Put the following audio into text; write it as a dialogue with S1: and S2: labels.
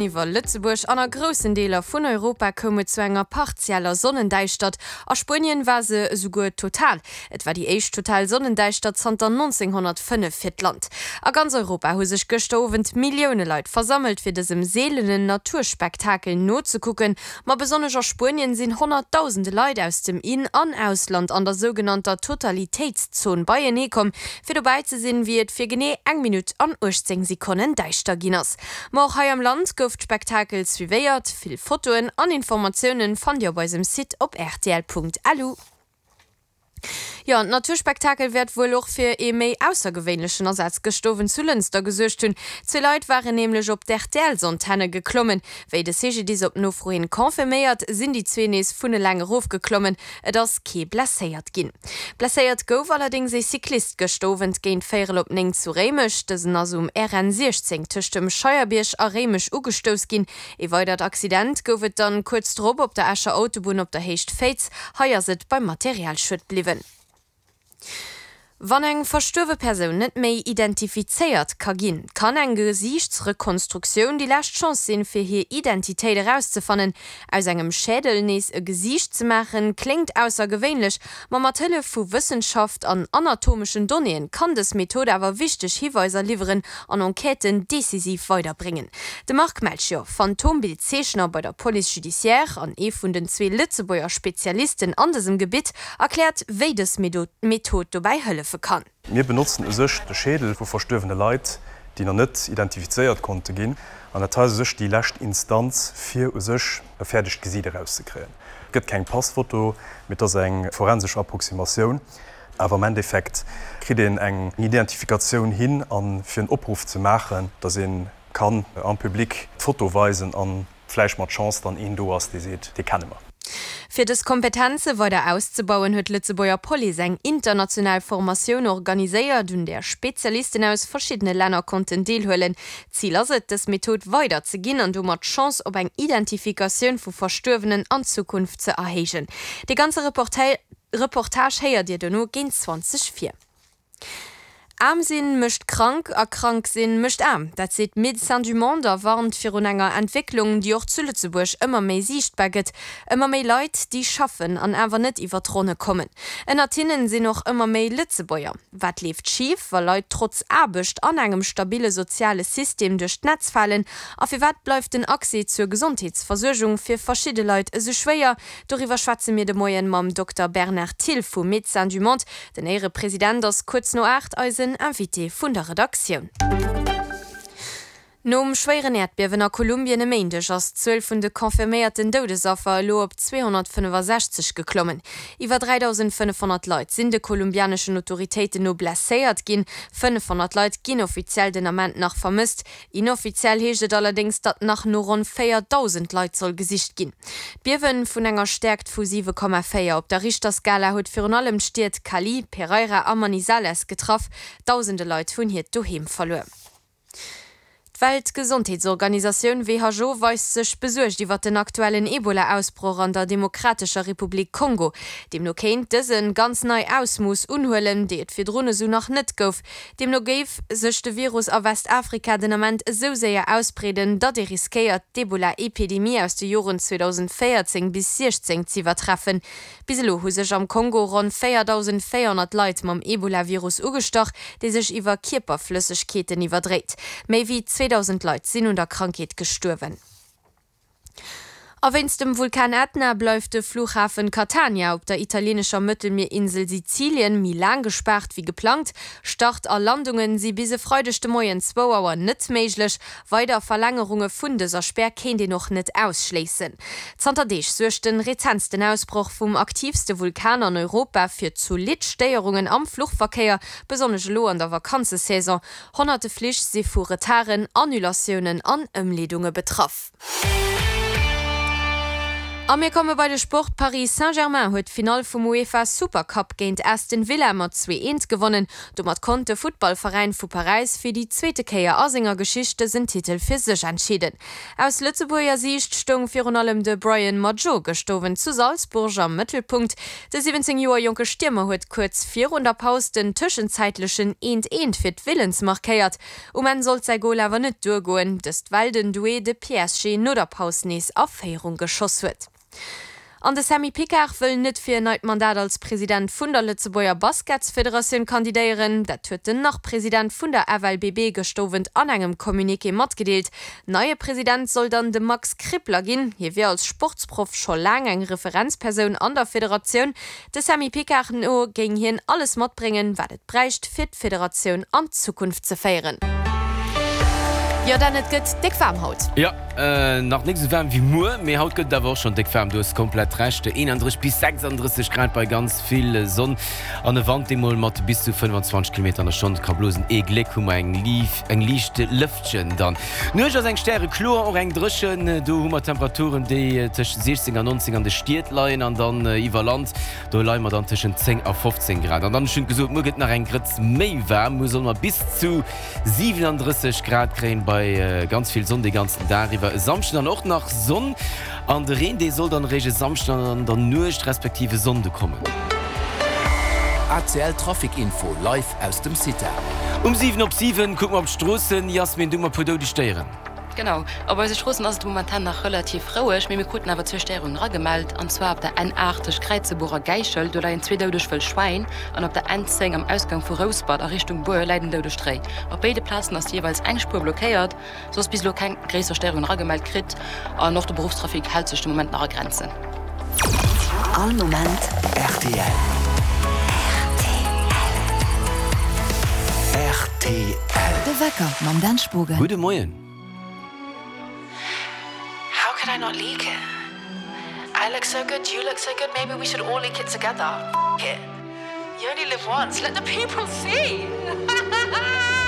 S1: Iwwer Lëtzebuerg an a groussen Deeler vun Europa koum et zu enger partieller Sonnendäischtert. A Spuenien war se esouguer total. Et war déi éischt total Sonnendäischtert zanter 1905 fir d'Land. A ganz Europa hu sech gëschter Owend Millioune Leit versammelt, fir dësem seelenen Naturspektakel nozekucken. Ma besonnesch a Spuenien sinn honnertdausende Leit aus dem In an Ausland an der sougenannter Totalitéitszon beienee komm, fir dobäi ze sinn, wéi et fir genee eng Minutt an 18 Sekonnen däischter ginn ass. Ma och hei am Land gouf d'Spektakel suivéiert. Vill Fotoen an Informatiounen fannt Dir op eisem Site op rtl.lu. Jo, an d'Naturspektakel wäert wuel och fir ee méi aussergewéinlechen Asaz gëscht Owend zu Lënster gesuergt hunn. Zwee Leit waren nämlech op d'RTL-Antenne geklommen. Wéi de CGDIS op Nofro hin confirméiert, sinn déi zwee nees vun eleng erofgeklommen. Et ass kee blesséiert ginn. Blesséiert gouf allerdéngs ee Cyclist gëscht Owend géint véierel op 9 zu Réimech. Dësen ass um RN 16 tëscht dem Scheierbierg a Réimech ugestouss ginn. Ee weidert Accident gouf et dann kuerz drop op der Escher Autobunn op der Héicht Féiz. Hei ass et beim Materialschued bliwwen. Wann eng verstuerwe Persoun net méi identifizéiert ka ginn, kann eng Gesiichtsrekonstruktioun déi lescht Chance sinn, fir hir Identitéit erauszefannen. Aus engem Schädel nees e Gesiicht ze maachen, kléngt aussergewéinlech, ma mat Hëllef vu Wëssenschaft an anatomeschen Donnéeën kann dës Method awer wichteg Hiweiser liwweren an Enquêten decisiv weiderbréngen. De Marc Melchior, Phantombild-Zeechner bei der Police judiciaire an ee vun den zwee Lëtzebuerger Spezialisten an dësem Gebitt, erkläert, wéi dës Method dobäi hëllefe kann.
S2: Mir benotzen u sech de Schädel vu verstuerwene Leit, déi nach net identifizéiert konnte ginn. An dat hei ass u sech déi lescht Instanz, fir u sech e fäerdegt Gesiit erauszekréien. Et gëtt keng Passfoto, mee et ass eng forensesch Approximatioun. Awer am Endeffekt kritt een eng Identifikatioun hin a fir en Opruff ze maachen, datt ee kann am Public d'Foto weisen an vläicht mat Chance dann een do ass, dee seet, dee kenne mer.
S1: Fir dës Kompetenze weider auszebauen, huet d'Lëtzebuerger Police eng international Formatioun organiséiert, un där Spezialisten aus verschiddene Länner konnten deelhuelen. Zil ass et, dës Method weider ze ginn an domat d'Chance op eng Identifikatioun vu Verstuerwenen an Zukunft ze erhéijen. Dee ganze Reportage héiert Dir dono géint 20 vir. Aarm sinn mécht krank a krank sinn mécht aarm. Dat seet Médecins du Monde a warnt virun enger Entwécklung, déi och zu Lëtzebuerg ëmmer méi siichtbar gëtt, Ëmmer méi Leit, déi schaffen an awer net iwwer d'Ronne kommen. Ënnert hinnen sinn och ëmmer méi Lëtzebuerger. Wat leeft schif, wa Leit trotz Aarbecht an engem stabille soziale System duerch d'Netz falen? A firwat bleift den Accès zur Gesondheetsversuergung fir verschidde Leit esou schwéier? Doriwwer schwätze mir de Moien mam Dokter Bernard Thill vu Médecins du Monde. Den Éierepresident ass kuerz no 8 eisen Invité vun der Redaktioun. Nom schwéieren Äerdbiewen a Kolumbien e Méindeg ass d'Zuel vun de confirméierten Doudesaffer elo op 265 geklommen. Iwwer 3.500 Leit sinn de kolumbianeschen Autoritéiten no blesséiert ginn. 500 Leit ginn offiziell den Ament nach vermësst. Inoffiziell heescht et allerdéngs, datt nach no ronn 4.000 Leit soll gesicht ginn. D'Biewe vun enger Stäerkt vu 7,4 op der Richterskala huet virun allem d'Stied Cali, Pereira a Manizales getraff. Dausende Leit hunn hiert Doheem verluer. D'Weltgesondheetsorganisatioun who weist sech besuergt iwwer den aktuellen Ebola-Ausbroch an der Demokratescher Republik Kongo. Deemno kéint dëse ganz nei Ausmooss unhuelen, déi et virdrun esou nach net gouf. Deemno géif sech de Virus a Westafrika den Ament esou séier ausbreeden, datt ee riskéiert, d'Ebola-Epidemie aus de Joren 2014 bis 16 z'iwwertreffen. Bis elo hu sech am Kongo ronn 4.400 Leit mam Ebola-Virus ugestach, dee sech iwwer Kierperflëssegkeeten iwwerdréit. Méi wéi 2.000 Leit sinn un der Krankheet gestuerwen. A wéinst dem Vulkan Ätna bleift de Flughafen Catania op der italieenescher Mëttelmierinsel Sizilien méi laang gespaart wéi geplangt. Start a Landunge si bis e Freideg de Moien zwou Auer net méiglech. Weider Verlängerunge vun dëser Spär kéint een och net ausschléissen. Zanter Deeg suergt de rezentsten Ausbroch vum aktiivste Vulkan an Europa fir zolidd Stéierungen am Fluchverkéier, besonnesch elo an der Vakanzesaison. Honnerte Flich si vu Retarden, Annulatiounen an Ëmleedunge betraff. A mir komme bei de Sport, Paris Saint-Germain huet d'Finall vum UEFA Super Cup géint Aston Villa mat 2, 1 gewonnen. Domat konnt de Futtballveräin vu Paräis fir déi zweete Kéier a senger Geschicht dësen Titel fir sech entscheeden. Aus Lëtzebuerger Siicht stoung virun allem de Brian Madjo gëscht Owend zu Salzburg am Mëttelpunkt. De 17 Joer jonke Stiermer huet kuerz virun der Paus den tëschenzäitlechen Eent Eent fir d'Villans markéiert. Um Enn sollt säi Gol awer net duergoen, dëst well den Doué de PSG no der Paus nees a Féierung geschoss huet. An de Sammy Picard wëll net fir en neit Mandat als President vun der Lëtzebuerger Basketsfederatioun kandidéieren. Dat huet den Nach-President vun der FLBB gëscht Owend an engem Communiqué matgedeelt. Neie President soll dann de Max Krippler ginn. Hie wier als Sportsproff scho laang eng Referenzpersoun an der Federatioun. De Sammy Picard no géing hien alles matbréngen, wat et bräicht, fir d'Federatioun an d'Zukunft ze féieren. Jo Dan, et gëtt déck waarm haut.
S3: Jo, nach nik sou waarm wéi muer, mee haut gëtt et awer och schonn déck waarm. Du hues komplett Recht, 31 bis 36 Grad bei ganz vill Sonn an e Wand, dee mol mat bis zu 25 Kilometer an der Stonn ka blosen. Ee Gléck hu mer eng liicht Lëftchen dann. D'Nuecht ass eng stärekloer, och eng dréchen. Do hu mer Temperaturen, déi tëscht 16 an 19 an de Stied leien an dann iwwer Land, do leie mer dann tëschent 10 a 15 Grad. An dann, ech hunn et gesot, muer gëtt nach eng Grëtz méi waarm. Muer solle mer bis zu 37 Grad kréien, bei ganz vill Sonn dee ganzen Dag iwwer. E Samschden dann och nach Sonn an de Reen, dee soll dann eréischt e Samschden an der Nuecht respektiv e Sonnde kommen.
S4: ACL Trafic Info live aus dem CITA.
S3: Um 7 op 7 kucke mer op d'Stroossen. Yasmin, du mat puer doudeg Déieren.
S5: Genau, op eise Stroossen ass et momentan nach relativ roueg, mee mir kruten awer zwee Stéierungen eragemellt, an zwar op der N8 tëscht Kräizebuch a Gäichel, do leien zwee doudeg wëll Schwäin, an op der N10 am Ausgang vu Rouspert a Richtung Bur läit en doudegt Réi. Op béide Plazen ass jeeweils eng Spuer blockéiert. Soss bis elo keng gréisser Stéierungen eragemellt kritt an och de Beruffstrafic hält sech de Moment nach a Grenzen.
S4: All Moment rtl. Rtl.
S6: De Wecker mam Dan Spogen.
S3: Gudde Moien.
S7: How could I not leak it? I look so good, you look so good, maybe we should all leak it together. F it. You only live once, let the people see!